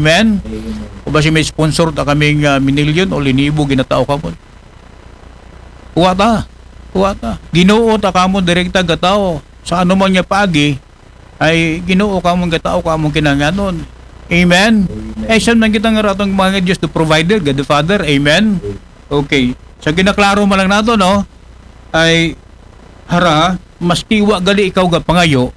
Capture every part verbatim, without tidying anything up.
Amen? O basi may sponsor ta kaming, ah, minilyon o linibo, ginatao kamo. Wa ta. Wa ta. Ginoo ta kamo direkta gatao. Sa ano man nga paagi, ay Ginoo kamo gatao kamo kinahanglanon. Amen? Ay, saan man kita nga ratong mga Diyos to provider, God the Father. Amen? Okay. Sa ginaklaro man lang nato, no? Ay, hara, maski wa gali ikaw ga pangayo,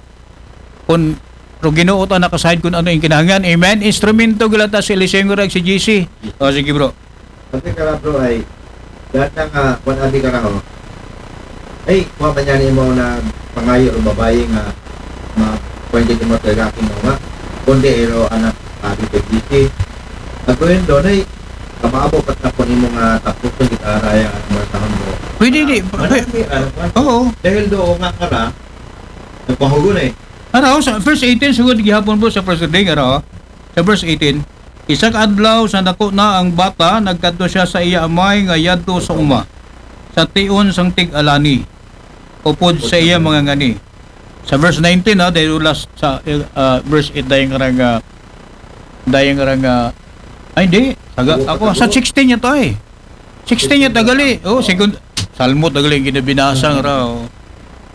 kun ro Ginoo ta nakasayod kun ano ang kinahanglan. Amen? Instrumento gila ta si Eliseo nga rag si G C. O, sige, bro. Kasi kara, bro, ay, dahil na nga, kung abi ka na, oh. Ay, kuha man yan mo na pangayo o babae nga, ma, pwede mo talaga aking mga, kundi ero anak, abi ko, G C. Ako yun doon, ay, kamaabo pat na po nimo nga tapos yung gitara, yung ano, mga sa hambo. Pwede, di. Ah, marami, ano, ano. Oo. Dahil doon nga kara, nagpahugo na eh. Ano, sa verse eighteen, sugod gihapon po sa first reading, ano, sa verse eighteen, "Isa ka adlaw sa dako na ang bata, nagkadto siya sa iya amay nga yadto sa uma, sa tion sang tig-alani, upod sa iya mga ngani." Sa verse nineteen, ha, dahil last sa, uh, verse eight, dahil nga rang, uh, dahil nga rang, uh, ay, hindi. Saga, ako, sa sixteen niya to, eh. Sixteen niya tagali. Oh, second. Salmo tagali ang ginabinasa nga ra, oh.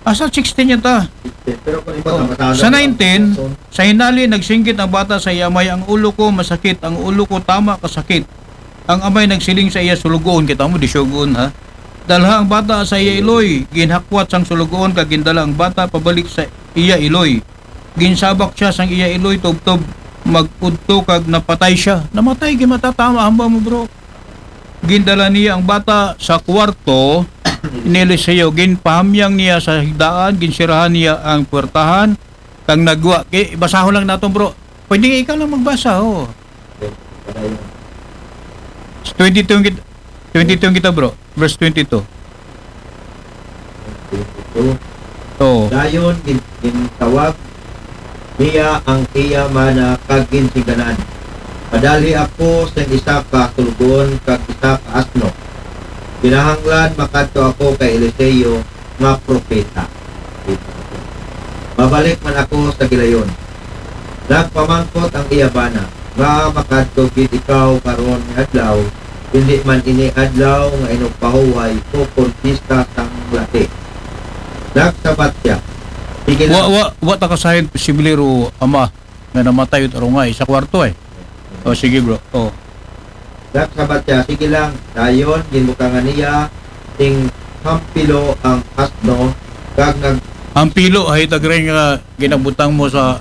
Asa sixteen niya ta? Pero kung iba, oh, sa nineteen, sa hinali, nagsinggit ang bata sa iya amay, "Ang ulo ko masakit, ang ulo ko tama kasakit." Ang amay nagsiling sa iya sulugoon, kita mo, di sulugoon, ha? "Dalha ang bata sa iya iloy." Ginhakwat sang sulugoon, kag gindala ang bata pabalik sa iya iloy. Ginsabak siya sang iya iloy, tubtob mag-udto, kag napatay siya. Namatay, gimatatama, hamba mo, bro. Gindala niya ang bata sa kwarto ni Eliseo. Ginpahamyang niya sa higdaan, ginsirahan niya ang puwertahan, kang nagwa. Kay, basahon lang naton, bro. Pwede ikaw lang magbasa, oh. Twenty-two ang kit-, twenty-two ang kita, bro. Verse twenty-two. Twenty-two. Oo. Dayon, gin-, gintawag niya ang iya bana kag ginsingganan, "Padalhi ako sa isa ka sulugoon kag isa ka asno. Kinahanglan makadto ako kay Eliseo nga propeta. Mabalik man ako sa gilayon." Nagpamangkot ang iya bana, "Nga makadto gid ikaw karon nga adlaw, hindi man ini adlaw nga inugpahuway o kon pista sang lati." Nagsabat siya, "Sige lang." Wa, wa, wa ta kasayod posible ro ama nga namatay ut arungay sa kwarto, eh. O, sige, bro. O. Nagsabat siya, "Sige lang." Dayon, ginbutangan niya sing hampilo ang asno, kag nag- Hampilo, hay, tagray nga ginabutang mo sa,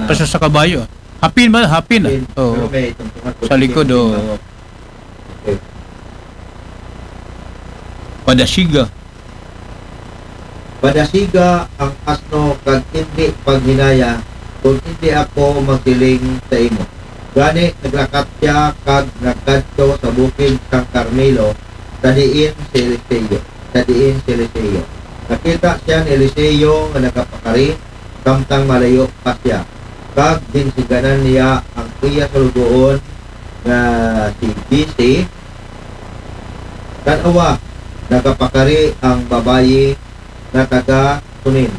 ah, sa, sa kabayo. Hapin ba? Hapin, ah. Hapin. Oo. Pero may tungtungan po. Sa likod, oo. Okay. Padasiga. Padasiga ang asno kag indi paghinaya, kung indi ako magsiling sa imo. Gani, naglakat siya kag nagkadto sa bukid sang Carmelo, sa diin si Eliseo, sa diin si Eliseo. Nakita siya ni Eliseo nga nagapakari, samtang malayo pa siya. Kag ginsingganan niya ang iya sulugoon nga si G C. Tan-awa, nagapakari ang babayi nga taga Sunem.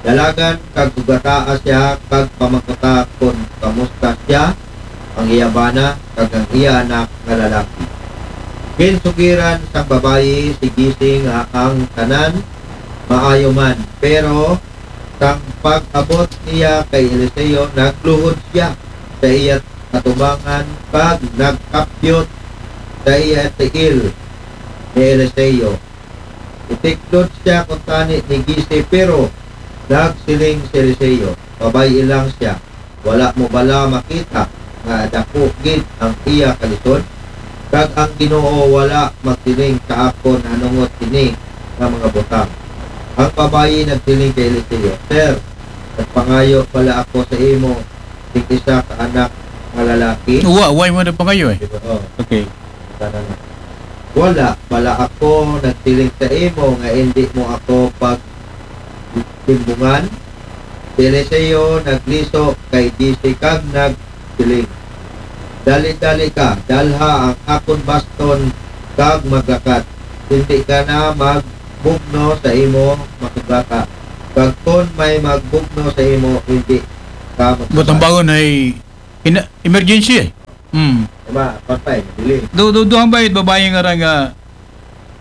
Dalagan kag sugataa siya kag pamangkuta kon kamusta siya, ang iya bana, kag ang iya anak nga lalaki. Ginsugiran sang babayi si G C nga ang tanan maayo man, pero sang pag-abot niya kay Eliseo, nagluhod siya sa iya atubangan kag nagkapyot sa iya tiil ni Eliseo. Itiklod siya kuntani ni G C, pero nagsiling si Eliseo, "Pabay-i lang siya. Wala mo bala makita nga dako gid ang iya kalisod? Kag ang Ginoo wala magsiling sa akon nanungod sini nga mga butang." Ang babayi nagsiling kay Eliseo, "Sir, nagpangayo bala ako sa imo sing isa ka anak nga lalaki?" Wa, wa mo na pangayo, eh. Oo. Okay. Wala bala ako nagsiling sa imo nga indi mo ako pagtimbungan? Si Eliseo nagliso kay G C kag nagsiling, "Dali-dali ka, dalha ang akon baston kag maglakat. Hindi ka na magbugno sa imo masugata. Kag kon may magbugno sa imo, hindi ka magsugata." Buot hambagon ay ina-, emergency, eh. Hmm. Diba? Patay, dili. Do, do, duhang bayad babayi nga ra nga,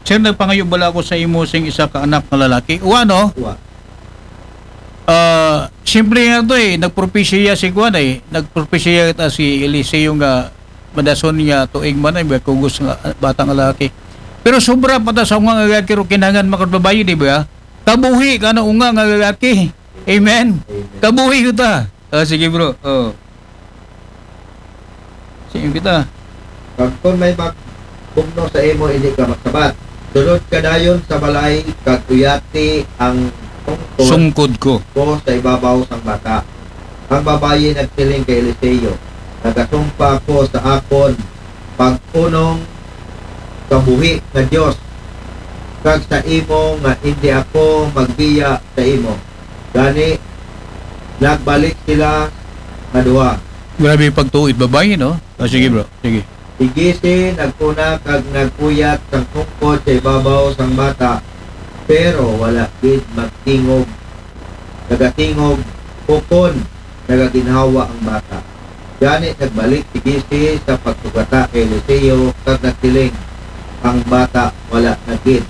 "Sir, nagpangayo bala ako sa imo sing isa ka anak nga lalaki." Wa, no? Wa. Ah, simple nga to eh. Nagpropesiya si kuan eh. Nagpropesiya ta si Eliseo nga madason nga tuig man ay may kugos nga bata nga lalaki. Pero sobra pa ta sa unga nga lalaki ro kinahanglan makadbabayi, di ba? Kabuhi ka na unga nga lalaki. Amen. Amen. Kabuhi ko ta. Ah, sige, bro. Oh. Sige kita. Pag kun may magbugno sa imo, hindi ka magsabat. Sulod ka dayon sa balay, kag uyati ang sungkod Sungkod ko. ko sa ibabaw sang bata. Ang babayi nagsiling kay Eliseo, "Nagasumpa ko sa akon pag-unong kabuhi nga Dios, kag sa imo nga hindi ako magbiya sa imo." Gani, nagbalik sila nga duha. Grabe pagtuo it babayi, no? Ah, sige, bro. Sige. Si Jesse nagkuna kag nagpuyat sang sungkod sa ibabaw sang bata, pero wala gid magtingog. Nagatingog, ukon nagaginhawa ang bata. Gani nagbalik si Jesse sa pagsugata kay Eliseo kag nagsiling, "Ang bata wala na gid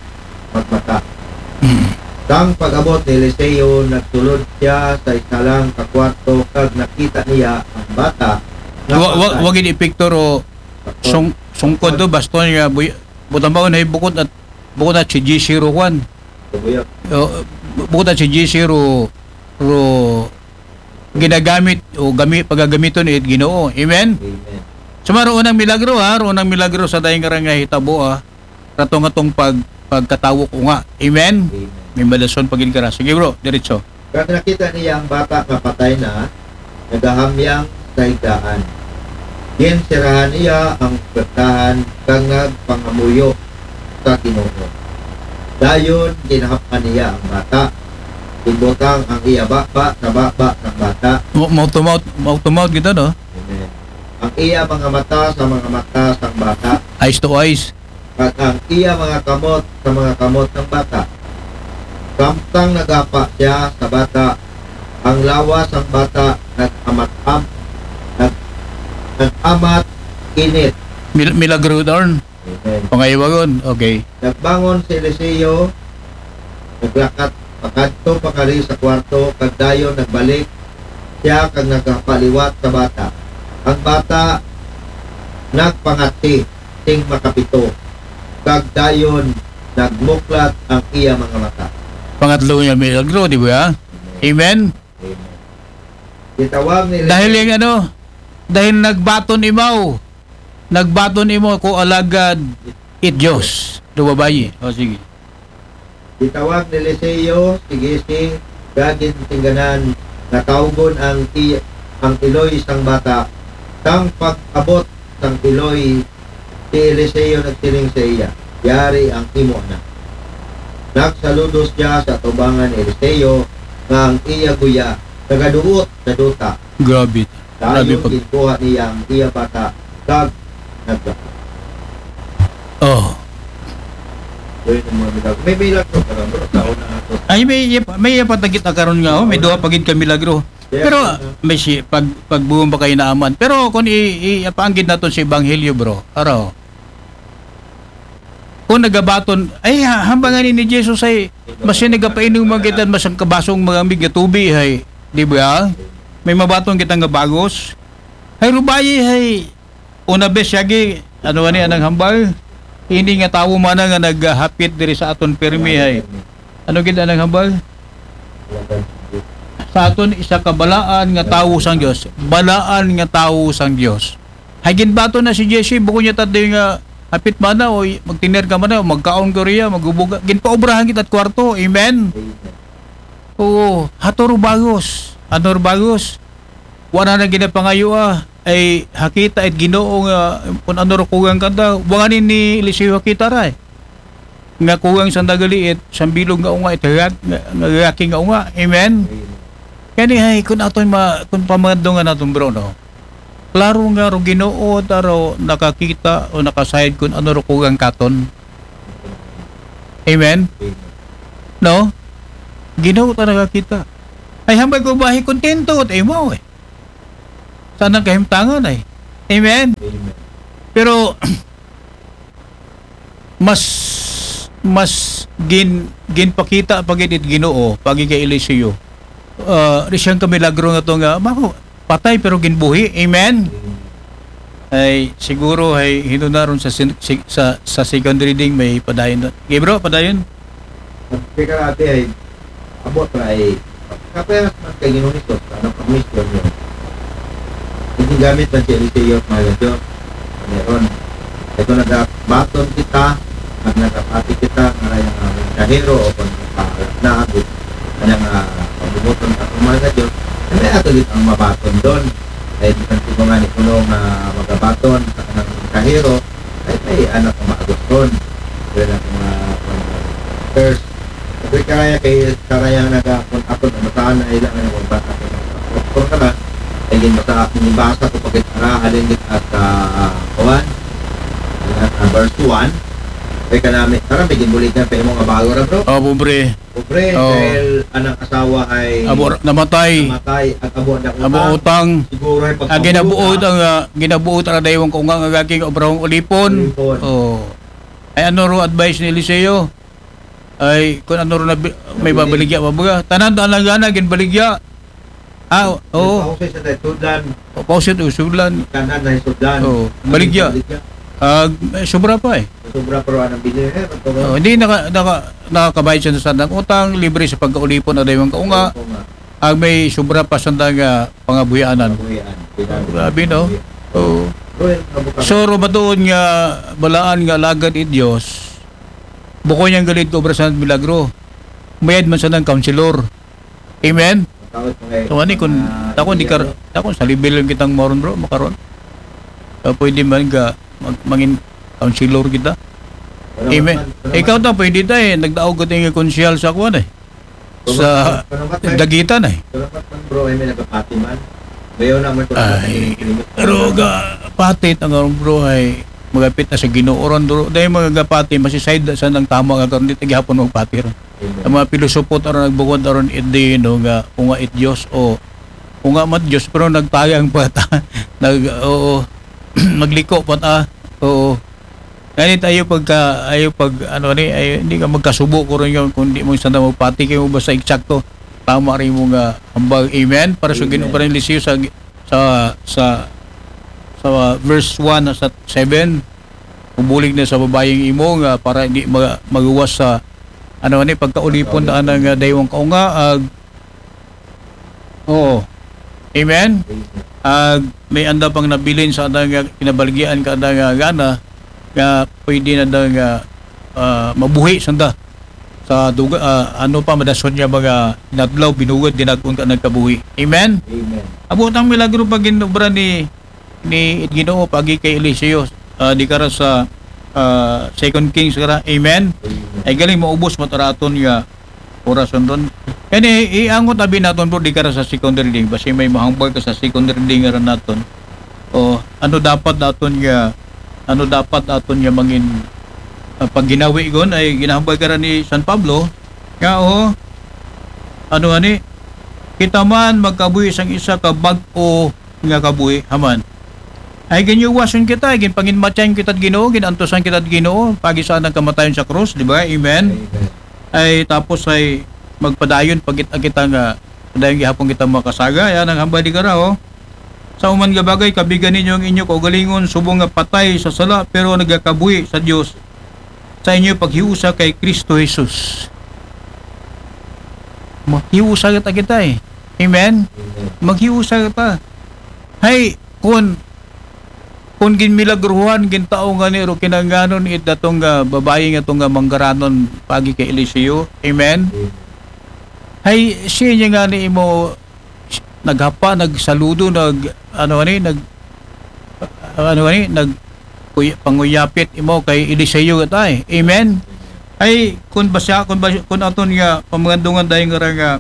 magmata." Mm. Sang pag-abot ni Eliseo, nagsulod siya sa isa lang ka kwarto kag nakita niya ang bata nga Wa, wa, patay. Wa gid epekto ro sung, sungkod do, baston nga buy, butang baon ay bukod at, bukod at si G C ro kwan. Kabuyag. O, bukod at si G C ro, ro ginagamit o gami, pagagamiton it Ginoo. Amen? Amen. Sumaro unang milagro, ha, ro unang milagro sa dayng nga hitabo, ha. Ratong atong pag, pagkatawo ko nga. Amen? Amen. May madason pagin ka ra. Sige, bro, diretso. Kag nakita niya ang bata nga patay na, nagahamyang sa higdaan. Ginsirahan niya ang puwertahan kag nagpangamuyo sa Ginoo. Dayon, ginahap-an niya ang bata. Ginbutang ang iya baba sa baba sang bata. Mo, mouth to mouth, mouth to mouth gid, no? Amen. Ang iya mga mata sa mga mata sang bata. Eyes to eyes. Kag ang iya mga kamot sa mga kamot ng bata. Samtang nagapa siya sa bata, ang lawas sang bata nag-amat-am-, nag-, nag-amat init. Mil-, milagro, darn. Amen. Pangaywagon, okay. Nagbangon si Eliseo, naglakat pakadto pakari sa kwarto, kag dayon nagbalik siya kag nagapaliwat sa bata. Ang bata nagpangati sing makapito, kag dayon nagmuklat ang iya mga mata. Pangatlo nga milagro, di ba? Amen? Amen. Gitawag ni Dahil yung ano, dahil nagbaton imaw, nagbaton imaw ko alagad it Diyos. Do babayi. O, sige. Gitawag ni Eliseo si Gisi, kag gintingganan nga tawgon ang i-, ang iloy sang bata. Sang pag-abot sang iloy, si Eliseo nagsiling sa iya, "Yari ang imo anak." Nagsaludos siya sa atubangan ni Eliseo nga ang iya guya nagaduot sa duta. Grabe. Grabe Dayon pag- ginkuha niya ang iya bata kag naglakad. Oh. Yun ang mga milagro. May milagro pa lang, bro. Sa una ato. Ay, may iya pa, may iya pa tagit na karon nga, oh. May duha pa gid ka milagro. Pero, ah, may si, pag, pagbuong ba kayo naaman? Pero kung i, i, ipaanggid naton sa Ebanghelyo, bro, araw. Kung nagabaton, ay, ha, hambangan ni Jesus ay, mas yung nagapainom mga kita, mas ang kabasong mga mig nga tubi, ay, di ba? May mabaton kita nga bagos. Ay, rubayi, ay, una bes, yagi, ano ani, anang hambal? Hindi nga tawo man nga naghapit diri sa aton pirmi, ay. Ano gid anang hambal? Sa aton isa ka balaan nga tawo sang Dios. Balaan nga tawo sang Dios. Hay ginbato na si Jesse, bukod niya tatay nga hapit mana o magtiner ka mana o magkaon ko riya, magubuga. Ginpaobrahan kita at kwarto. Amen? Oo. Hato ro bagos. Ano ro bagos? Wala na ginapangayo, ah. Ay hakita it Ginoo nga kung ano ro kugang kanta. Wanganin ni Eliseo hakita ra, eh. Nga kugang sang dagaliit, sang bilog nga unga, it hagat, nga, nga lalaki nga unga. Amen? Amen. Kani ay, kung aton ma-, kung pamadungan naton, bro, no? Klaro nga ro Ginoo ta ro nakakita o nakasayod kung ano ro kugang katon. Amen? Amen. No? Ginoo ta nakakita. Ay, hambay ko bahi kontento at imo, eh. Sa nang kahimtangan, ay. Amen? Amen. Pero mas mas gin ginpakita pa gid it Ginoo pagi kay Eliseo. Ah, di siyang kamilagro nga to nga mako patay pero ginbuhi. Amen. Ay siguro ay hinunaron sa sin- si- sa sa second reading may padayon. Okay, bro, padayon. At kaya ate ay abot ra ay kapayas man kay Ginoong Hesus, ano, pag-mission niyo. Hindi gamit man si Eliseo, mga Diyos. Meron. Ito nagabaton kita, nag nagapati kita, nga rin ang mensahero o kung nakaharap na ako, kanyang uh, pagbubuton at mga Diyos, hindi ato din ang mabaton doon. Ay di man siguro nga ni kuno nga magabaton sa kanang mensahero, ay may anak ang maagot doon. Kaya na mga first Sabi karaya kay karaya nga nagakon ako na mataan na ilang nga magbasa ko ng doktor ka na. Ay ginbasa, ginbasa ko pagkit ara halin gid at ah, kuwan. At ah, verse one. Kay kanami, karami ginbuligan pa imo nga bago ra, bro. Oh, pobre. Pobre, Oh. Dahil anang asawa ay Abo namatay. Namatay at abo na Abo utang. Siguro ay Ang ginabuot ang ah, ginabuot ra daywang ko nga nga gaging obrahong ulipon. Ulipon. Oh. Ay ano ro advice ni Eliseo? Ay kung ano ro na bi- may babaligya pa ba? Tanan tanan gana ginbaligya. Ah, oo. Pausay sa tayo, tudlan, Pausit usulan. kanan na yung sudlan. Oo, baligya. Ah, eh, sobra pa eh. Sobra pero anong bilhin eh. Ito Oh, hindi naka, naka, nakakabayad siya sa sandang utang, libre sa pagkaulipon na daywang kaunga, ang may sobra pa sandang ah, pangabuhianan. Grabe, no? Oo. So, ro ba doon nga balaan nga alagad i Dios, bukod niyang galid ko obra sa milagro, mayad man sa ng counselor. Amen? So, ani kung, takon di kar, takon sa level lang kitang moron, bro, makaron. Ah, pwede man ka mag, mangin counselor kita. Amen. Ikaw ta, pwede ta eh. Nagdaog ka tingin konsehal sa kuwan eh. Sa dagitan eh. Salamat man bro, ay may nagapati man. Bayo naman ko Ay, pero ga pati ang bro ay magapit na sa Ginoo ron, bro. Dahil mga gapati, masiside sa nang tama nga karon di ta gihapon magpati ron. Ang mga pilosopo aron nagbungod aron it di, no, nga kung nga it Dios o kung nga mat Dios pero nagtayang pa ta. Nag oo. Magliko pa ta. Oo. Ganit ayo pagka ayo pag ano ni ayo, hindi ka magkasubo ko rin yun kung di mo sana magpati kayo basta eksakto tama rin mo nga hambag. Amen. Para sa Ginoo pa rin lisiyo sa sa sa sa verse one sa seven, ubulig na sa babayeng imo nga para hindi ma- maguwas sa ano ni pagkaulipon na nga daywang kaunga ag oo. Amen. Ag may anda pang nabilin sa anda nga kinabalgian ka anda nga gana nga pwede na da nga ah, mabuhi sanda sa duga ah, ano pa madason niya mga inadlaw binugod dinag-on ka nagkabuhi. Amen. Amen. Abo tang milagro pag ginobra ni ni Ginoo pagi kay Eliseo ah, di kara sa ah, Second Kings kara. Amen. Amen. Ay galing maubos mo taraton nga orason ron. Kani iangot abi naton bro di kara sa second reading basi may mahambal ka sa second reading nga ron naton. O ano dapat naton nga ano dapat aton nga mangin ah, pag ginawi gon ay ginahambal kara ni San Pablo nga o ano ani kita man magkabuhi sang isa ka bag-o nga kabuhi haman. Ay ginyuwason kita, ay ginpanginmatyan kita Ginoo, ginantusan kita Ginoo, pagi sa anang kamatayon sa krus, di ba? Amen. Amen. Ay tapos ay magpadayon pagit kita nga padayon gihapon kita makasaga, ay anang hambal di kara, oh. Sa uman nga bagay, kabigan ninyo ang inyo kaugalingon subong nga patay sa sala pero nagakabuhi sa Dios sa inyo paghiusa kay Kristo Jesus. Maghiusa kita kita eh. Amen? Amen. Maghiusa kita. Hay, kun kun ginmilagruhan gintao nga ni ro kinanganon it datong nga babayi nga tong nga manggaranon pagi kay Eliseo. Amen. Hay siya niya nga ni imo naghapa nagsaludo nag ano ani nag ano ani nag kuy, panguyapit imo kay Eliseo gatay. Amen. Ay kun basa kun basa, kun aton nga pamangandungan dahil nga ra nga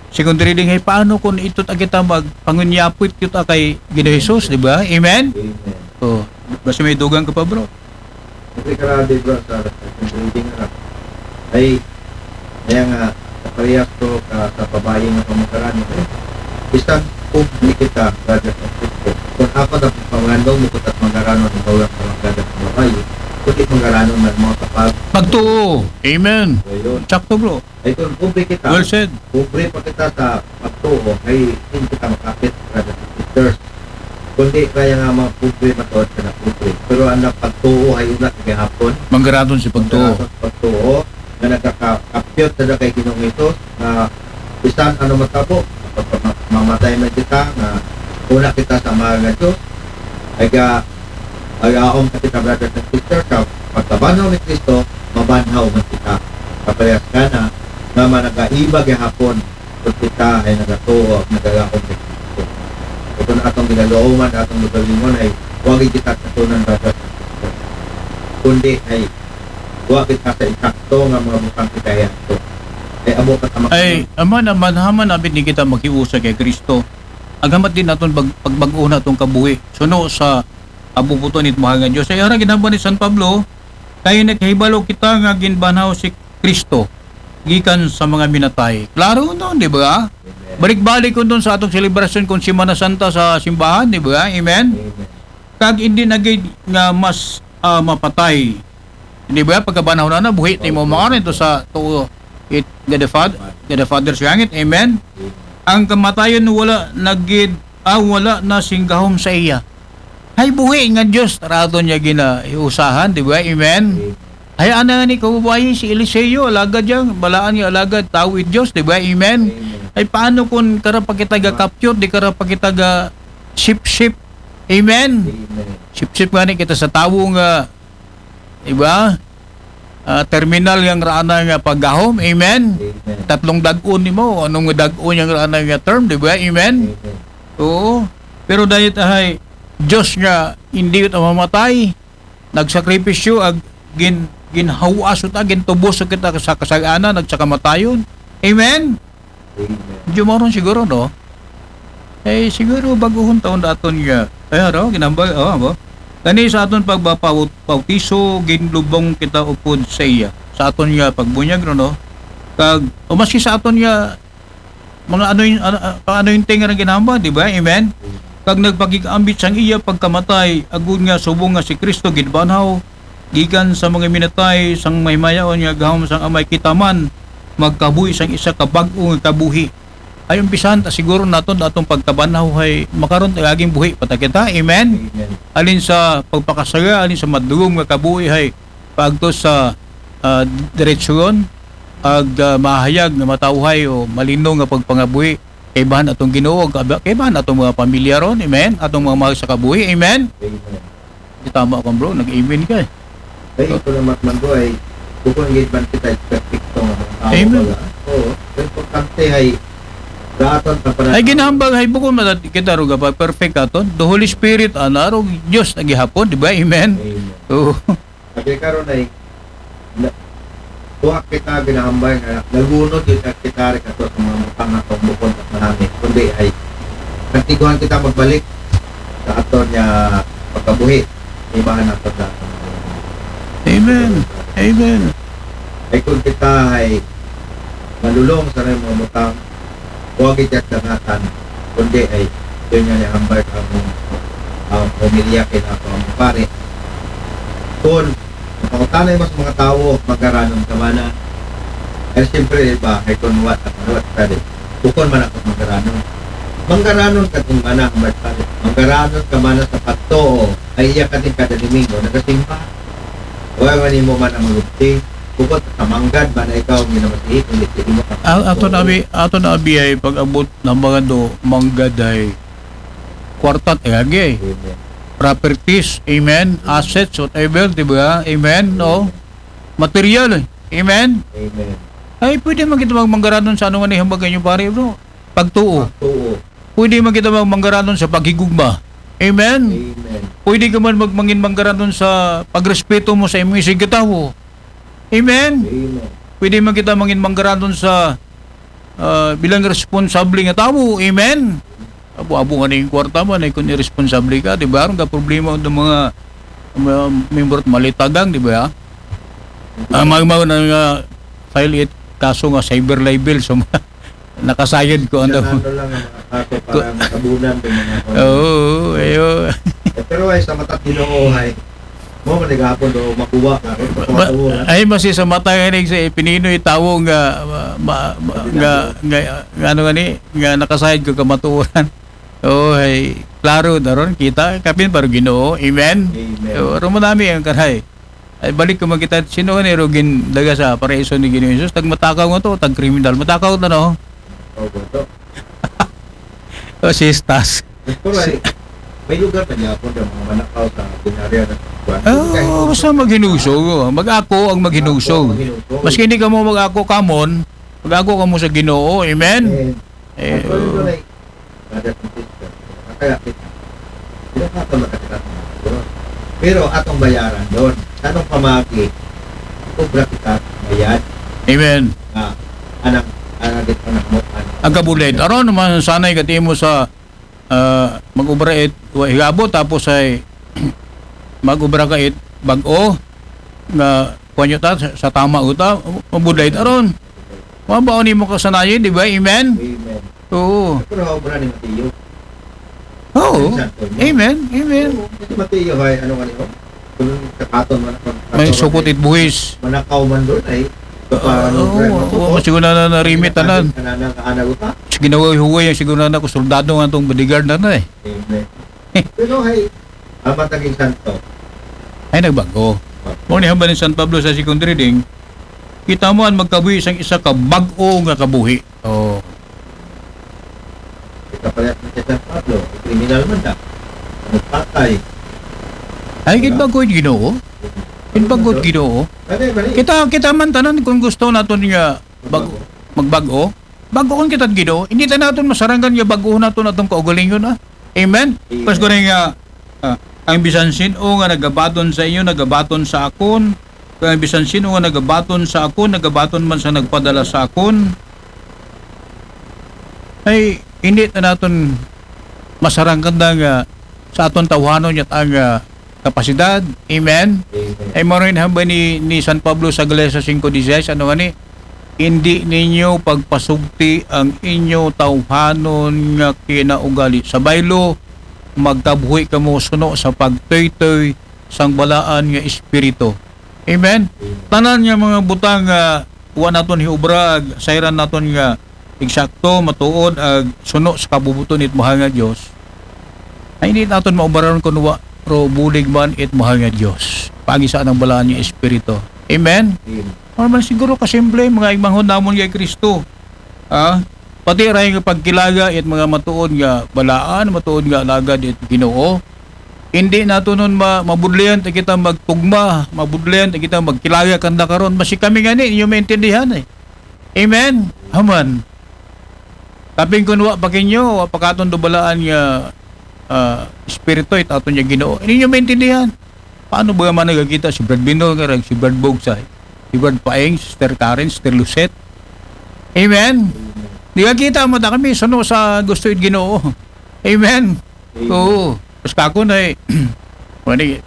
second reading ay paano kun ito ta kita mag pangunyapit kita kay Ginoong Jesus, di ba? Amen. Amen. Oh, basta may dugang ka pa, bro. Kasi grabe bro sa second reading na. Ay, kaya nga, sa parehas ko ka, sa babayi nga pamangkarano. Eh, bisan, pobre kita, brothers and sisters. Kung ako na pangandong mo kuta't manggaranon, ang bawat manggaranon ng babae, kundi manggaranon ng mga kapag. Pagtuo. Amen. Ayun. Sakto, bro. Ay, kung pobre kita, Well said. pobre pa kita sa pagtuo, ay hindi kita makapit, brothers and sisters. Kundi kaya nga mga pobre, matuod ka na pobre. Pero ang pagtuo ay una sa gihapon. Manggaranon si pagtuo. Pagtuo, pagtuo, nga nagkakapyot na kay Ginoong Hesus, na bisan ano matabo, mamatay man kita, nga una kita sa mga nga Diyos, ay ga, ay aom ka kita, brothers and sisters, sa pagkabanhaw ni Kristo, mabanhaw man kita. Kaparehas ka na, nga managaiba gihapon, kung kita ay nagatuo, nagagaon kay Kristo. Ito na atong ginagauman, atong lugalingon ay, huwag kita sa tunan, brothers and sisters. Kundi ay, huwag kita sa isakto nga mga butang kita ay ato. Ay, amo ka tama. Ay, ama naman, haman abit ni kita maghiusa kay Kristo. Agamat din naton pag, pagbag-o na atong kabuhi. Suno sa abubuto ni Mahal nga Diyos. Ay, ara ginhambal ni San Pablo, kay nakahibalo kita nga ginbanhaw si Kristo gikan sa mga minatay. Klaro nun, di ba? Balik-balik ko dun sa atong selebrasyon kung Semana Santa sa simbahan, di ba? Amen? Amen. Kag hindi na gid nga mas ah, mapatay. Di ba? Pagkabanhaw na na, buhi tayo mo mga ito sa to it God the Father, God the Father sa langit. Amen? Ang kamatayon wala na gid, ah, wala na singgahom sa iya. Hay buhi nga Diyos, rato niya gina iusahan, di ba? Amen? Hay ana nga ni kababayi si Eliseo, alagad yang, balaan nga alagad, tao it Diyos, di ba? Amen? Ay paano kung kara pa kita ga kapyot, di kara pa kita ga sip-sip? Amen? Amen. Sip-sip nga ni kita sa tawo nga, di ba? Ah, terminal yang raana nga paggahom. Amen? Amen. Tatlong dag-on nimo, anong dag-on yang raana nga term, di ba? Amen? Amen. Oo. Pero dahil tahay Diyos nga hindi kita mamatay, nagsakripisyo, ag gin, ginhawas ta, gintubos kita sa kasaganan, ag sa kamatayon. Amen? Amen. Medyo maron siguro, no? Eh, siguro baguhon taon na aton nga. Ay, araw, ginambal, oh, abo. Kani sa aton pagbapautiso, ginlubong kita upod sa iya. Sa aton nga pagbunyag, no, no? Kag, o maski sa aton nga, mga ano yung, ano, ano yung tingin ng ginamba, di ba? Amen? Kag nagpakig-ambit sang iya pagkamatay, agud nga subong nga si Kristo gidbanhaw, gikan sa mga minatay, sang mahimayaon nga gahom sang amay kita man, magkabuhi sang isa ka bag-o nga kabuhi. Ay umpisahan ta siguro naton atong pagkabanhaw hay makaron ta aging buhi pa ta kita. Amen. Amen. Alin sa pagpakasaya, alin sa madugom nga kabuhi hay paagto sa ah, diretsuyon, ag ah, mahayag nga matawhay o malino nga pagpangabuhi kaibahan atong Ginoo, kaibahan atong mga pamilya ron. Amen. Atong mga mahal sa kabuhi. Amen. Amen. Di tama ka, bro, nag-amen ka eh. Ay, ito naman man ko ay bukon gid man kita perfecto nga mga tao. Amen. Baga. Oo. Importante ay daton ta para Ay ginahambal hay bukon man kita ruga pa perfect aton. The Holy Spirit ana ro Dios na gihapon, di ba? Amen. Amen. Oo. Kasi karon ay na, tuwa kita ginahambal nga nagunod yun at kita rin ato sa mga butang atong bukon at manami. Kundi ay nagtiguan kita magbalik sa aton nga pagkabuhi. Ibahan nato sa aton. Amen. Amen. Ay kung kita ay malulong sa mga butang, huwag ikat dangatan, kundi ay yun nga nihambal ang ang pamilya kay na ang pare. Kung ang pangutanay mas mga tao, magaranon ka man na. Ay siyempre, iba, ay kung what, what study. Bukon man ako magaranon. Manggaranon ka din man ang pare. Manggaranon ka man sa pagtuo, ay iya ka din kada Domingo, nagasimba. Wala man mo man ang magugti. Bukod sa manggad man na ikaw, hindi na masihi, hindi sa imo ka. A- ato na abi, ato na abi ay pag-abot ng mga do, manggaday. Kwartat, eh, agi. Amen. Properties, amen. Assets, whatever, di ba? Amen, no? Material, eh. Amen. Amen. Ay, pwede man kita magmanggaranon sa ano nga nihambag inyo, pare, bro. Pagtuo. Oo. Pwede man kita magmanggaranon sa paghigugma. Amen. Amen. Pwede ka man magmangin manggaranon sa pagrespeto mo sa imong isigkatawo. Amen. Amen. Pwede man kita mangin manggaranon sa ah, bilang responsable nga tawo. Amen. Abo-abo nga na yung kwarta mo, na kung irresponsable ka, di ba? Aron ka problema ng mga, mga member at malitagang, di ba? Ang mga, mga na nga file it kaso nga cyber libel sa mga nakasayod ko, ano. Ano lang ang mga kaso para matabunan ng mga Oo, ayo. Eh, pero ay sa mata't Ginoo ay mo man gahapon do makuha ka ron sa Ma- kamatuoran. Ay, masi sa mata nga rin sa pininoy tawo nga ma, ma, ma, nga, nga, nga ano nga ni nga nakasayod ko kamatuoran. Oo, ay klaro na ron kita kapin para Ginoo. Amen. Amen. Oo, ron mo nami ang karay. Ay balik ko magkita sino nga ni ro gindaga sa paraiso ni Ginoo Jesus, tag matakaw nga to, tag kriminal. Matakaw to, no? Oh, boto. O sistas. Pero ay may lugar na gahapon ng mga manakaw sa binarya na kuwan. Oh, basta maghinusog, oh. Mag-ako ang maghinusog. Maghinusog. Maski hindi ka mo mag-ako kamon, mag-ako ka mo sa Ginoo. Amen. Eh, Eh, actually, doon ay brother and sister. Kaya kita. Hindi na ka magkakita. Pero atong bayaran doon. Sa anong pamagi? Obra kita bayad. Amen. Ah, anak, anak, anak mo, anak. Ang kabulid. Aron naman sanay katimo sa ah, mag-obra it wa higabo tapos ay mag-obra ka it bag-o nga kuwan nyo ta sa, sa tama uta, mabudlay aron. Mabaon nimo kasanayan, di ba? Amen? Amen. Oo. Pero obra ni Mateo. Oo. Amen. Amen. Oo, kasi Mateo ay ano nga niyo? Kung kakaton man May sukot it buhis. Manakaw man doon ay Oo, oo, siguro na narimit tanan. Kanana ka ana uta. Sige na huway-huway ang siguro na ako soldado nga itong bodyguard na na eh. Amen. Pero ay amat naging santo. Ay nagbago. Mo ni hambal ni San Pablo sa second reading, kita mo ang magkabuhi sang isa ka bag-o nga kabuhi. Oh. Ikapalit na si San Pablo, kriminal man na. Nagpatay. Ay gid bago yung Ginoo. Gid bago yung Ginoo. Kaya mali. Kita kita man tanan kung gusto naton nga bag magbag-o. Bag-o kita Ginoo. Hindi ta naton masarangan nga bag-o naton atong kaugalingon ah. Amen. Amen. Pas ko rin nga ah, ang bisan sino nga nagabaton sa inyo, nagabaton sa akon. Kaya bisan sino nga nagabaton sa akon, nagabaton man sa nagpadala sa akon. Ay hindi ta naton masarangan na nga sa aton tawhanon yat ang ah, kapasidad. Amen. Amen. Ay mo rin hamba ni, ni San Pablo sa Galacia five dieciséis, ano nga ni? Hindi ninyo pagpasugti ang inyo tawhanon nga kinaugali. Sa baylo, magkabuhi kamo suno sa pagtoytoy sang balaan nga espiritu. Amen. Tanan nga mga butang nga wa naton hiobra, ag sayran naton nga eksakto, matuod, ag suno sa kabubuton it mahal nga Dios. Ay hindi naton maubaran kun wa ro bulig man it mahal nga Dios. Pagi sa anang balaan nga espiritu. Amen. Amen. Ano man siguro kasimple mga igmanghon namon kay Kristo. Ah, pati ray nga pagkilaga it mga matuod nga balaan, matuod nga alagad it Ginoo. Hindi nato nun ma mabudlayan ta kita magtugma, mabudlayan ta kita magkilaga kanda karon. Basi kami gani inyo maintindihan eh. Amen. Amen. Kaping kun wa pa kinyo, wa pa katon dubalaan nga ah, espiritu it aton nga Ginoo. Hindi nyo maintindihan. Paano ba man nagkita si Brad Binor nga si Brad Bogsay, si Brad Paeng, Sister Karen, Sister Lucette? Amen. Di ka kita mo ta kami suno sa gusto it Ginoo. Amen. Oo. Tapos kako na eh. Wani,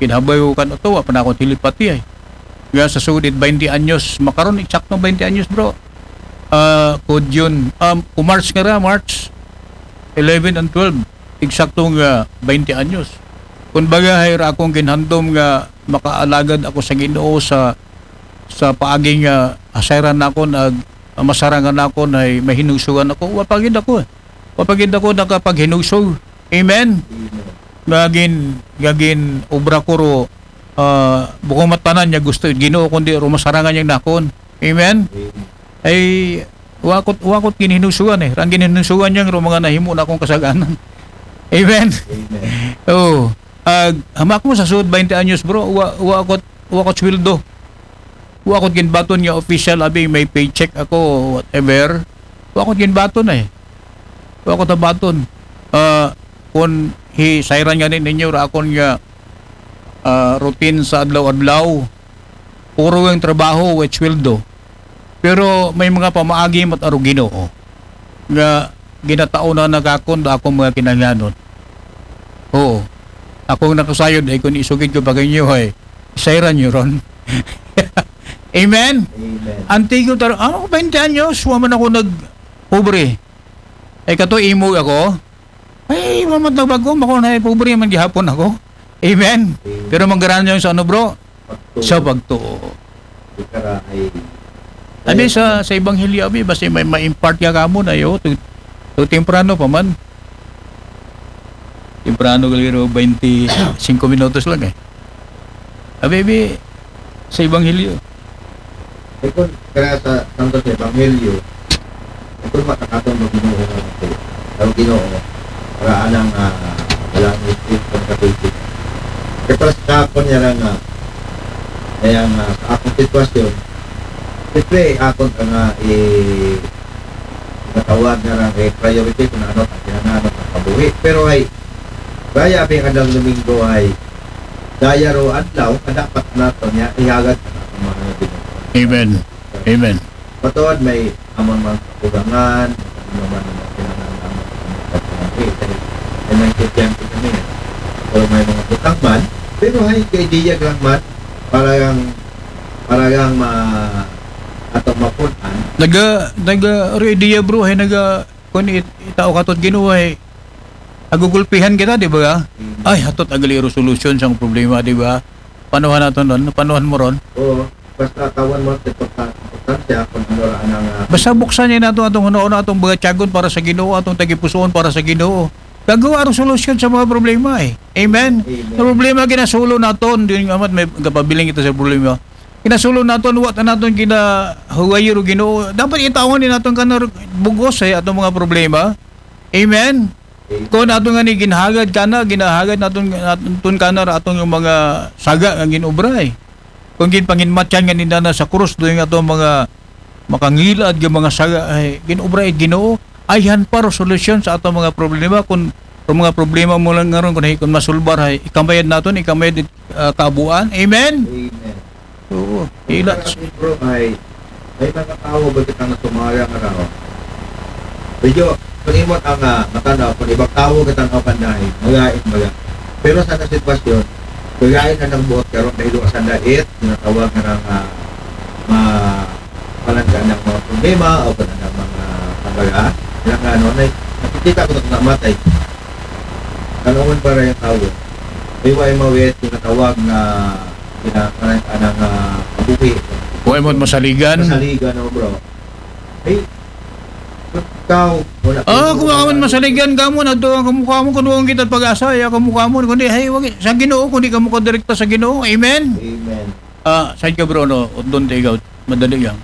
kinabay ko kan ito, wa pa na akong telepathy eh. Nga sa sudit, twenty anyos. Makaron, eksakto twenty anyos, bro. Ah, kod yun. Um, kung March nga ra, March eleven and twelve. Eksakto nga twenty anyos. Kung baga, hay ra akong ginhandom nga makaalagad ako sa Ginoo sa sa paagi nga asayran nakon ag masarangan nakon ay mahinusugan ako. Wa pa gid ako. Wa pa gid ako nakapaghinusog. Amen. Nga gin, nga gin obra ko ro, ah, bukong matanan niya gusto it Ginoo kundi ro masarangan niya nakon. Amen. Ay wakot wakot ginhinusugan eh. Rang ginhinusugan niya ro mga nahimo na akong kasaganan. Amen. Amen. Oh. Ag hamak mo sa sud twenty anyos bro, wa wa akot wa akot sweldo. Wa akot ginbaton nga official abi may paycheck ako whatever. Wa akot ginbaton eh. Wa akot tabaton. Ah, kun hi sayran nga ni ninyo ra akon nga ah, routine sa adlaw-adlaw. Puro ang trabaho with sweldo. Pero may mga pamaagi mat aro Ginoo nga ginataon na nagakon da akong mga kinahanglanon. Oo. Akong nakasayod ay kung isugid ko pa kanyo ay sayran nyo ron. Amen? Amen. Antigo taro, ano ko twenty anyos, wa man ako nag pobre. Ay, kato imog ako. Ay, mamatnag ba ko, mako na, pobre man gihapon ako. Amen. Amen. Pero manggaran yung sa ano, bro? Pagtuo. Sa pagtuo. Ikaw ra ay Abi sa, sa ebanghelyo, abi, basta may ma-impart ka kamo na yo, to, to temprano pa man. Temprano gali ro, twenty-five minutos lang eh. Abi, abi, sa ebanghelyo. Eh, kung kaya sa Santo sa Ebanghelyo, eh, kung matakaton mo Ginoo nga ito, ang Ginoo, para anang, ah, wala ang Espiritu ng Katoliko. Kaya para sa akon niya lang nga, kaya nga sa akong sitwasyon, siyempre, akon ka nga, eh, matawag na lang, eh, priority kung ano, ang kinananap ng kabuhi. Pero ay, kaya ang adlaw Domingo ay, daya ro adlaw, ka dapat nato niya, ihagad ka na ang mga Ginoo. Amen. Amen. Matuod may amon mga kakulangan, ano man ang mga kinahanglan naman sa mga kakulangan. Eh, dahil may mga estudyante kami, eh. Pero may mga butang man, pero hay, kay diya lang man, para lang, para lang ma-, atong mapunan. Naga, naga, ro idea, bro, hay naga, kun it-, itao ka to't Ginoo, hay, nagugulpihan kita, di ba? Mm. Ay, hatot agali resolution sa problema, di ba? Panuhan nato nun, panuhan mo ron. Oo. Basta tawan mo, importante, importante ako, ano, ra, anang, ah, Basta buksan niya nato atong hunahuna, atong mga tiyagon para sa Ginoo, atong tagipusoon para sa Ginoo. Gagawa ang solusyon sa mga problema eh. Amen? Amen. Ang problema, ginasulo naton. Di nga amat may kapabiling kita sa problema. Ginasulo naton, wa ta naton ginahuway ro Ginoo. Dapat itawan din naton ka na bugos eh, atong mga problema. Amen? Amen. Kung ato nga ni ginhagad ka na, ginahagad naton, naton ka na, atong yung mga saga nga ginobra eh. Kung ginpanginmatyan nga nindana sa krus, doon nga atong mga makangilad nga mga saga, ay, ginobra, ay, Ginoo, ayhan pa ro solusyon sa atong mga problema. Kung, kung mga problema mo lang ngaron, kung, kung masulbar, ay, ikamayad naton, ikamayad, ah, kabuan. Amen? Amen. Oo, ila. Pero, bro, ay, may mga tao ba kita nga sumaya nga raw? Medyo, panimot ang, ah, matanaw, kung ibang tao ka tanaw ka na, ay, magain, maga. Pero sa sitwasyon, magain na nagbuot karon dahil sa dait, tinatawag nga ng, ah, ma-, palangga ng mga problema o kung ano mga pangalaga. Kaya nga, ano, na, nakikita ko na namatay. Kalawan para yung tao. May way mawit, tinatawag na, tinatawag na, ah, kabuhi. Wa mo masaligan. Masaligan, no, bro. Hey, ikaw, wala Ah, ko kung awan masaligan ka mo, na doon ang kamukha mo, kung doon kita pag-asa, ya kamukha mo, kundi, hey, wag, sa Ginoo, kundi ka mo direkta sa Ginoo. Amen? Amen. Ah, side ka, bro, no? Doon tayo, madali yan.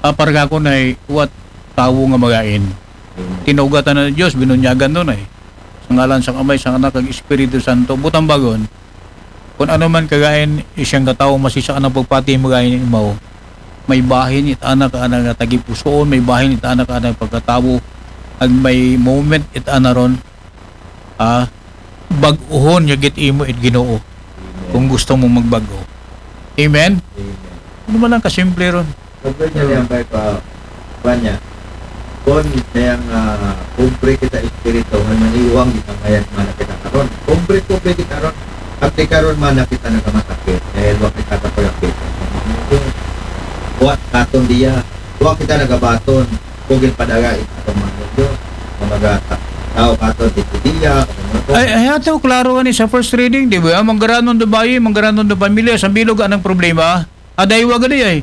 Ah, para ka ako na, what, tao nga magain. Amen. Tinugatan na ng Diyos, binunyagan doon eh. Sa ngalan sa Amay, sa Anak, kag Espiritu Santo. Butang bagon, kung ano man kagain, isang katao, masisa ka ng pagpati, magain mo. May bahin, it anak, anak nga tagipusoon, may bahin, it anak, anak pagkatao, ag may moment, it ana ron, ah, bag-uhon, niya git imo, it Ginoo. Amen. Kung gusto mo magbago. Amen? Amen. Ano man ang kasimple ron? Pagkanya niya, may pa, pa niya. Kon, kaya nga, kumbre kita espiritu, may maniwang kita ngayon, mana kita karon. Kumbre, kumbre kita ron. At di karon, mana kita nagkamasakit, dahil wa kita kapalapit. Wa katon diya, wa kita nagabaton, kung ginpadagay, atong mga Diyos, mga mga ta-, tao katon, di diya, Ay, ay, ato, klaro nga ni sa first reading, di ba? Manggaranon do bayi, manggaranon do pamilya, sa bilog anang problema. Aday wa gadi ay.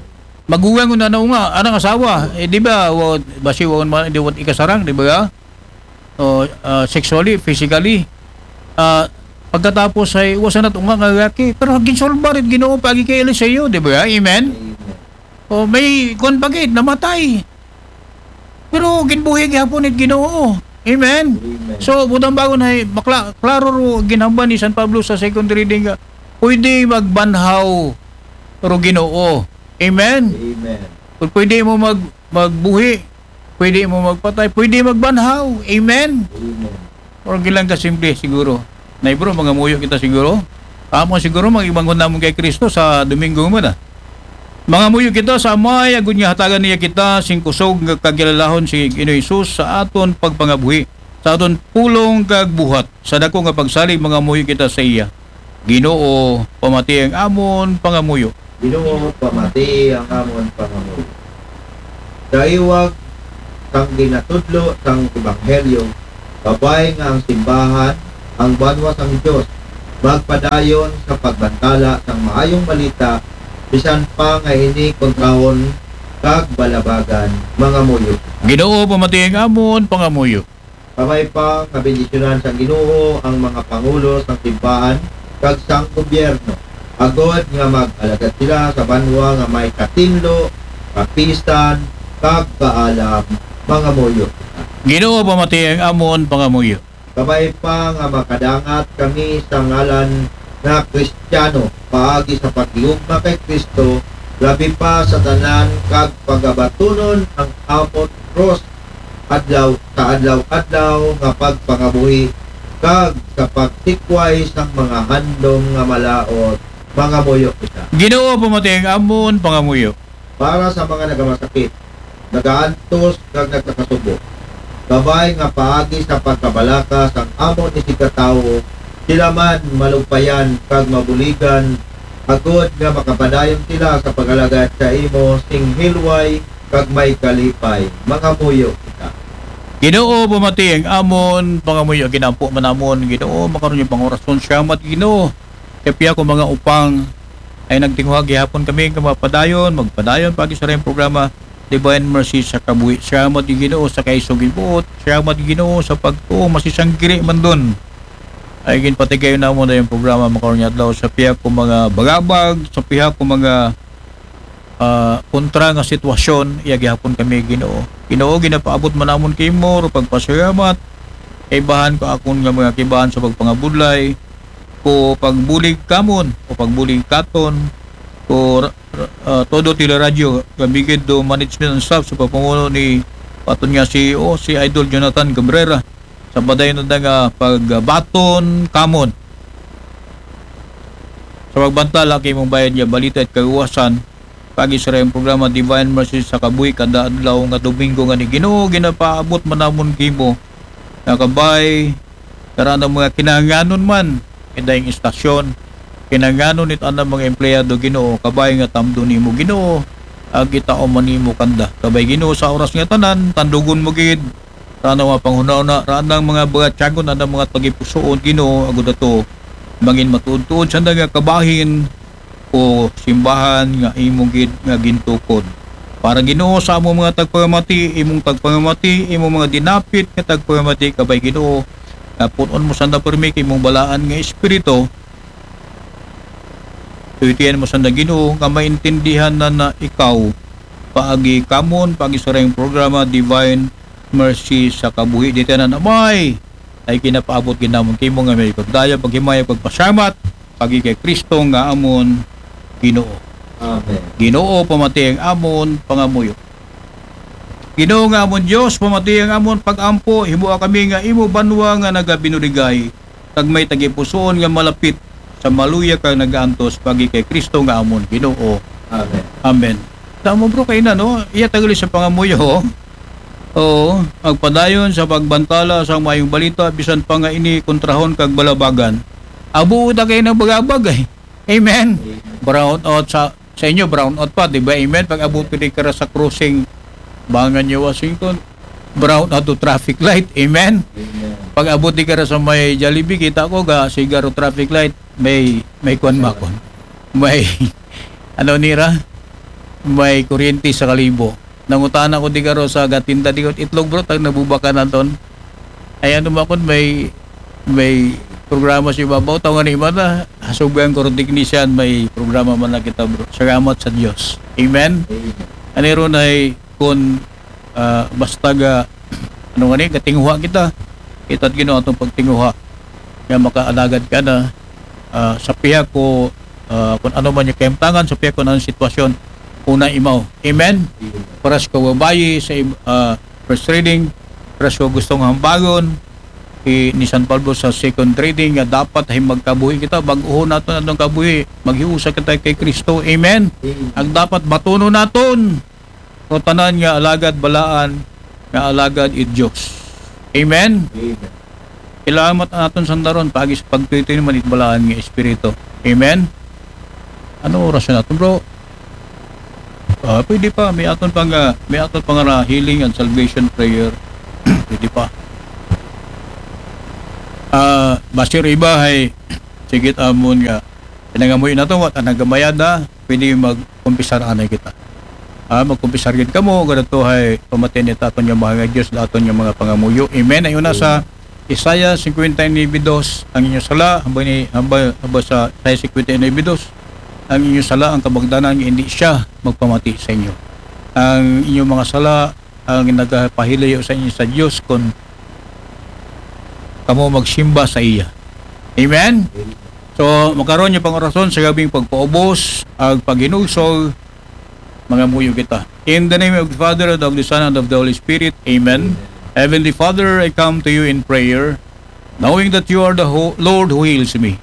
Maguwang na na nga, anang asawa. Eh, di ba, wa, basi wa man, di wa ikasarang, di ba? O, ah, sexually, physically. Ah, pagkatapos ay, wa sa natunga nga lalaki. Pero ginsolbar it Ginoo, pagi kay Eliseo, di ba? Amen? Amen. O, may, kwan pa gid, namatay. Pero ginbuhi gihapon it Ginoo. Amen? Amen. So, butang bago na, makla-, klaro ro ginhambal ni San Pablo sa second reading nga, pwede magbanhaw ro Ginoo. Amen? Amen. Kung pwede mo mag-, magbuhi, pwede mo magpatay, pwede magbanhaw. Amen? Amen. Or gilang kasimple siguro. Nay bro, mangamuyo kita siguro. Amo siguro, mag-ibangon namon kay Kristo sa Domingo mo na. Mangamuyo kita sa Amay, agud nga hatagan niya kita sing kusog nga kagilalahon si Ginoong Hesus sa aton pagpangabuhi, sa aton pulong kag buhat. Sa dako nga pagsalig, mangamuyo kita sa iya. Ginoo, pamati ang amon pangamuyo. Ginoo, pamati ang amon pangamuyo. Daiwag sang ginatudlo sang ebanghelyo, kabay nga ang simbahan, ang banwa sang Dios, magpadayon sa pagbantala sang maayong balita, bisan pa nga ini kontrahon kag balabagan. Mangamuyo. Ginoo, pamati ang amon pangamuyo. Kabay pa nga bendisyonan sang Ginoo ang mga pangulo sang simbahan kag sang gobyerno, agod nga mag-alagad sila sa banwa nga may katinlo, kapisan, kag kaalam. Mangamuyo. Ginoo, pamati ang amon pangamuyo. Kabay pa nga makadangat kami sa ngalan nga Kristiyano paagi sa paghigugma kay Kristo, labi pa sa tanan, kag pagabatunon ang amon krus adlaw sa adlaw-adlaw nga pagpangabuhi, kag sa pagtikway sang mga handom nga malaut. Mangamuyo kita. Ginoo, pamati ang amon pangamuyo. Para sa mga nagamasakit, nagaantos, kag nagkakasubo, kabay nga paagi sa pagkabalaka sang amon isigkatawo, sila man malugpayan kag mabuligan, agod nga makapadayon sila sa pag-alagad sa imo sing hilway kag may kalipay. Mangamuyo kita. Ginoo, pamati ang amon pangamuyo. Ginampo man amon, Ginoo, makaron yung pangorason. Salamat, Ginoo. Kaya piya ko mga upang ay nagtinguha gihapon kami nga mapadayon, magpadayon paagi sa rayong programa Divine Mercy sa Kabuhi. Salamat, Ginoo, sa kaisog buot. Salamat, Ginoo, sa pagtuo masisanggiri man dun. Ay ginpatigay na mo na yung programa makaron nga adlaw sa piya ko mga bagabag, sa piya ko mga ah, kontra nga sitwasyon, iya gihapon kami, Ginoo. Ginoo, ginapaabot man namon kimo ro pagpasalamat. Kaibahan ko akon nga mga kibahan sa pagpangabudlay, ko pagbulig kamon, o pagbulig katon, ko ra- ra- ah, todo Teleradyo, gabigid do management and staff sa papamuno ni paton nga C E O, si Idol Jonathan Cabrera, sa padayon na nga pagbaton kamon sa pagbantala kay mong bayad nga balita at kaluwasan. Paagi sa rayong programa Divine Mercy sa Kabuhi kada adlaw nga Domingo nga ni Ginoo, ginapaabot man namon kimo nga kabay karaan ang mga kinahanglanon man, idayong istasyon, kinahanglanon it anang mga empleyado, Ginoo, kabay nga tamdo nimo, Ginoo, ag itao man nimo kanda. Kabay, Ginoo, sa oras nga tanan, tandugon mo gid raan ang mga panghunahuna, raan ang mga bagatyagon, raan ang mga tagipusoon, Ginoo, agud ato mangin matuod-tuod sa nga kabahin o simbahan nga imo gid nga gintukod. Para, Ginoo, sa among mga tagpangamati, imong tagpangamati, imong mga dinapit nga tagpangamati, kabay, Ginoo, nga punon mo sanda permi kay imong balaan nga espiritu. Tuytian mo sanda, Ginoo, nga maintindihan na na ikaw paagi kamon, paagi sa rayong programa Divine Mercy sa Kabuhi. Di tanan amay ay ginapaabot ginamon kimo nga may pagdaya, paghimaya, pagpasamat paagi kay Kristo nga amon Ginoo. Amen. Ginoo, pamati ang amon pangamuyo. Ginoo nga amon Dios, pamati ang amon pag-ampo, himoa kami nga imo banwa nga nagabinuligay, kag may tagipusoon nga malapit sa maluya kag nagaantos paagi kay Kristo nga amon Ginoo. Amen. Amen. Tamo, bro, kay na, no? Iya tagali sa pangamuyo, ho? Oo, magpadayon sa pagbantala sa mayong balita, bisan pa nga ini kontrahon kag balabagan. Abo ta kay nang bagabag, eh. Amen. Brown out sa sa inyo, brown out pa, di ba? Amen. Pag abot ko di ka ra sa crossing, Bangan niyo, Washington, brown out to traffic light. Amen. Amen. Pag abot di ka ra sa may Jollibee, kita ko ga sigaro traffic light, may may kuan ba kon? May ano nira? May kuryente sa kalibo. Nangutana ko di ka ro sa gatinda di ko itlog, bro, tag nabubaka naton. Ay ano ba kon may may programa si Babaw, taw nga ni Imana, hasugan ko ro technician, may programa man na kita, bro. Salamat sa Dios. Amen. Amen. Ani ron ay kun ah, basta ga ano nga ni gatinguha kita, kita Ginoo atong pagtinguha nga makaalagad ka na ah, sa piha ko ah, kung ano man yung kahimtangan, sa piha ko ng sitwasyon, una imaw. Amen. Para sa kababayi sa im- ah, first reading, para sa gustong hambagon i ni San Pablo sa second reading nga dapat ay magkabuhi kita, bag-o nato na itong kabuhi, maghiusa kita kay Kristo. Amen. Amen. Ang dapat batunon naton o tanan nga alagad balaan nga alagad i Dios. Amen. Amen. Ilamat naton sandaron paagi sa pagtuy-tuy man it balaan nga espiritu. Amen. Ano oras na naton, bro? Ah, pwede pa, may aton pa nga, may aton pa nga healing and salvation prayer. Pwede pa. Ah, basi iba hay, sige, amon nga, pinangamuyo na to, wala nagamayad na, pwede magkumpisar anay kita. Ah, magkumpisar gid kamo, ganato hay pamati ni aton nga Mahal nga Dios, aton nga mga pangamuyo. Amen. Ayon na sa Isaiah fifty-nine two, ang inyong sala, hambal ni, hambal, hambal sa Isaiah fifty-nine two, ang inyong sala, ang kabagdanan, nga hindi siya magpamati sa inyo. Ang inyong mga sala, ang nagapahilayo sa inyo sa Dios, kung kamo magsimba sa iya. Amen? So, makaron niya pang orason sa gabing pagpaubos, ag paghinulsol, mangamuyo kita. In the name of the Father, and of the Son, and of the Holy Spirit. Amen. Heavenly Father, I come to you in prayer, knowing that you are the ho- Lord who heals me.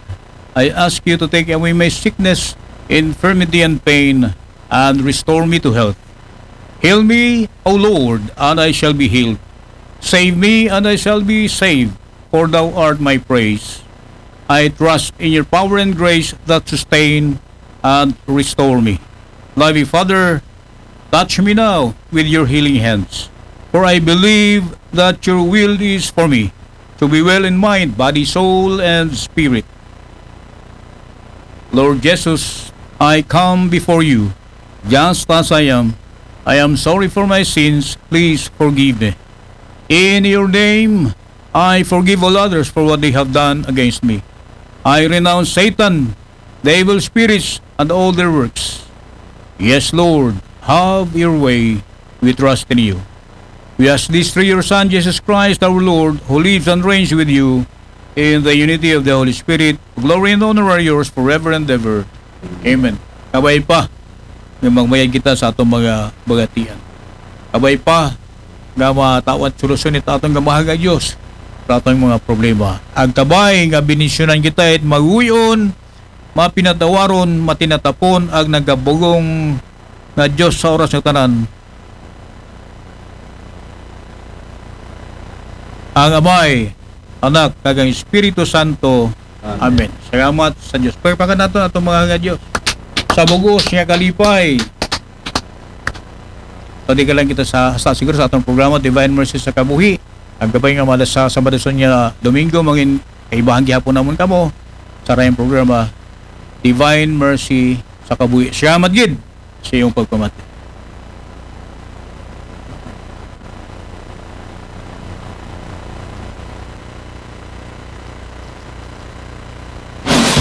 I ask you to take away my sickness, infirmity, and pain, and restore me to health. Heal me, O Lord, and I shall be healed. Save me, and I shall be saved, for thou art my praise. I trust in your power and grace that sustain and restore me. Loving Father, touch me now with your healing hands, for I believe that your will is for me to be well in mind, body, soul, and spirit. Lord Jesus, I come before you just as I am. I am sorry for my sins. Please forgive me. In your name, I forgive all others for what they have done against me. I renounce Satan, the evil spirits, and all their works. Yes, Lord, have your way. We trust in you. We ask this through your Son, Jesus Christ, our Lord, who lives and reigns with you in the unity of the Holy Spirit. Glory and honor are yours forever and ever. Amen. Kabay pa nga magmayad kita sa atong mga bagatian. Kabay pa nga matawat solusyon ni atong nga Mahal nga Dios sa atong mga problema. Ang kabay nga bendisyonan kita it maguyon, mapinatawaron, matinatapon, ag nagabugong nga Dios sa oras nga tanan. Ang Amay, Anak, kag ang Espiritu Santo. Amen. Amen. Salamat sa Dios. Palakpakan nato atong mga nga Dios. Sa bugos nga kalipay. Pwede ka lang kita sa, sa siguro sa atong programa, Divine Mercy sa Kabuhi. Ang gabay nga mala sa Sabado sa niya, Domingo, mangin kaibahan gihapon namon kamo sa rayong programa, Divine Mercy sa Kabuhi. Salamat gid sa iyong pagpamati.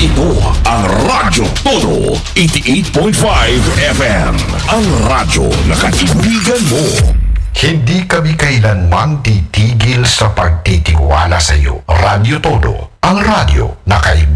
Ito ang Radyo Todo, eighty-eight point five F M. Ang radyo na kaibigan mo. Hindi kami kailanman titigil sa pagtitiwala sa iyo. Radyo Todo, ang radyo na kaibigan